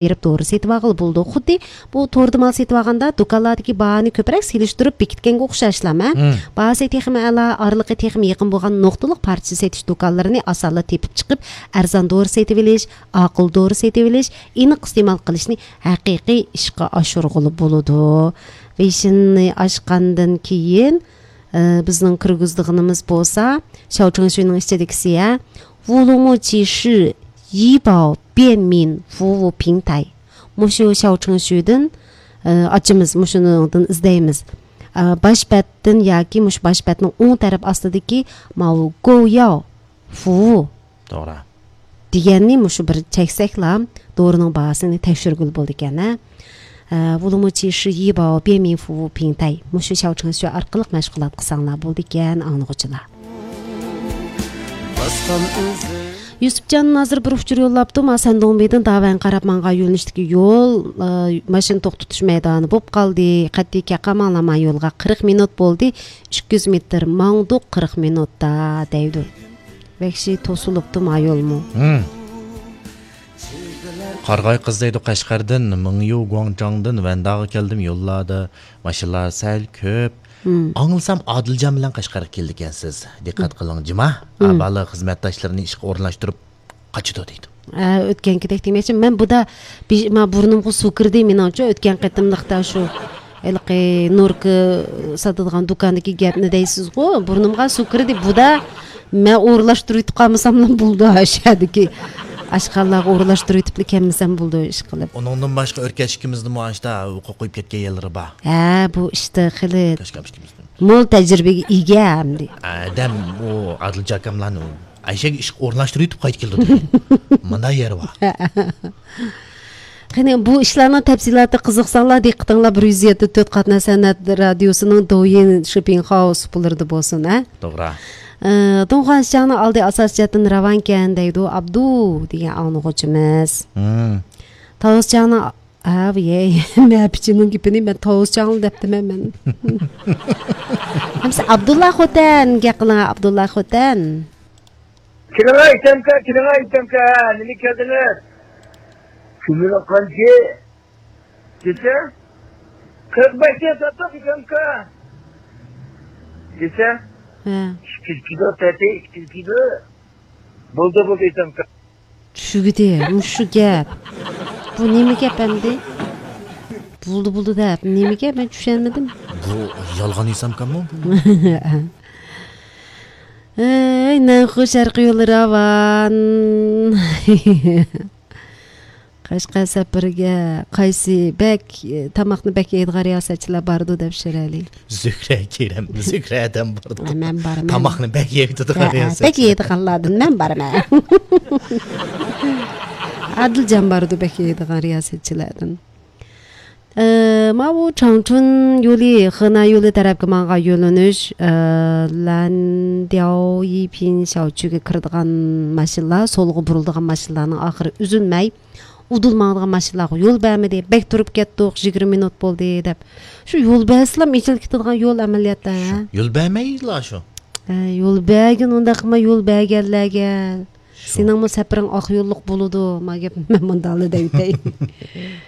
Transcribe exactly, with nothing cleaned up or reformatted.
берип doğru сетип алгыла болду. Худди бул торду мал сетип алганда дукалардагы бааны көбүрөөк селиштирип бекиткенге окшошлам, э? Баасы техим ала, арлыгы техим якын болгон ноктолук парча сетиш дукалларын асалы тепип чыгып, арзан doğru сетип элиш, акыл doğru сетип элиш, инык истемал кылышны хакыйкый ишке ашыргылы болду. Вешинни ашкандан кийин биздин кыргыздыгыныбыз болса, Шаочыңшуйнун ичедегиси, э? Вулуму чиши Йибао Бенмин фуу пиңтай. Мушу Шаочыңшуйдун ачымыз, мушунун издейбиз. Баш беттин яки муш баш беттин оң тарап астыдагы мау гояо фуу. Туура. Дегенни мушу бир чексекла доорунун баасын текшергүл болду экен, э? Вулуму чиши Йибао Бенмин фуу пиңтай. Мушу Шаочыңшуй аркылуу машгулат кылсаңлар болду экен, аңлыгычылар. Юсупжан азыр бир учур жоллаптым. Асандоңбейдин Даван Карапманга юлуништики жол машина токтотуш майданы болуп калды. Каттеке камалама жолга кырк минут болду. үч жүз метр маңдук кырк минутта дейди. Векши тосулуптум айолму. Каргай кыз дейди Кашкардын, Мыңю Гуаңжаңдын Вандага келдим, жоллады. Машиналар сәл көп. Аңылсам Адылжан менен Кашкарга келди экенсиз. Диккат кылың, жыма. Абалы кызматташларын ишке орунлаштырып качыды дейт. Өткөнкидек демекчи, мен буда бурнумга суу кирди, мен очо өткөн кытымдыкта ушу элки Нурка сатылган дукандагы гепни дейсиз го, бурнумга суу кирди. Буда мен орунлаштырып калмасам болду ашадыки. Ашкаллага орунлаштырып этип кемисем болду иш кылып. Онуңдун башка өркөчкүмүздүн маашта уку коюп кеткен елleri бар. Э, бу иште кылы. Мол тажрыйбеге ийге амди. Адам о Адылжан акамланы Айшеге иш орунлаштырып этип кайтып келди. Мындай жери бар. Кene bu işlerin tepsilatı kızıqsanlar diqqətinizlə bir yüz yetdi төрт Qatna Sənət Radiosunun Douyin Shopping House bulurdu bolsun, hə? Doğru. Donğan şanı aldı asasiyatın Ravanken deydi Abdu degan anıqıcımız. Tavuscanı abi ye məpçinin gipini ben Tavuscanı deptim hemen. Hamsi Abdullah Xotan gaqına Abdullah Xotan. Kirağa itemka, kirağa itemka, nini kadınlar. Kümüne kanki. Gise? kırk beş satak itemka. Gise? ikki kilo tete, ikki kilo. Buldu buldu itemka. Şu gide, şu gap. Bu nemi gap emdi? Buldu buldu da, nemi gap ben düşenmedim. Bu yalgan itemka mı? Ey, ne hoş şarkı yolları avan. Qashqa safarga qaysi bek tamoqni bek Edgar Yasachilar bardi deb shirali. Zukra Kerem, Zukradan bardi. Men borman. Tamoqni bek yeydi qarayasiz. Bek yeydi qanladin, men borman. Adiljan bardi bek yeydi qarayasachilardan. Ma bu Changchun yo'li, Hena yo'li tarafga manga yo'lanish, Landiao Yipin Shaochuga kiradigan mashinalar, solga buriladigan mashinalarning oxiri uzilmay udulmağıdığın maşınlarga yol bermedi. Bek durup ketdik, yigirme minut boldu dep. Şu yol bersilam içil ketadigan yol amaliyatda. Yol bermeydilar şu. Yol bergin onda qilma yol berganlarga. Sening bu safaring oq yo'lliq boludu. Ma gap men mundalı deytay.